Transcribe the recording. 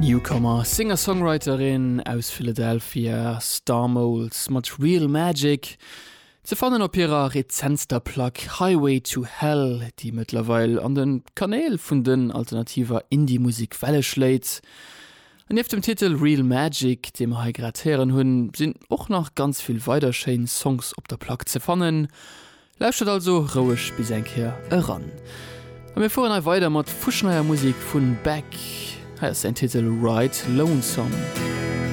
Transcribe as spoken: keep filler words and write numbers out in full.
Newcomer, Singer-Songwriterin aus Philadelphia, Star Moles mat Real Magic, ze fannen op hirer rezentster Plack Highway to Hell, déi mëttlerweil an de Kanäl vun den alternativer Indie-Musek Welle schléit. An nieft dem Titel Real Magic, dee mer hei grad héieren hunn, sinn och nach ganz vill weider schéin Songs op der Plack ze fannen. Lauschtert also roueg bis eng Kéier eran. A mir fueren hei weider mat fuschneier Musek vun Beck. Hei ass säin Titel Ride Lonesome.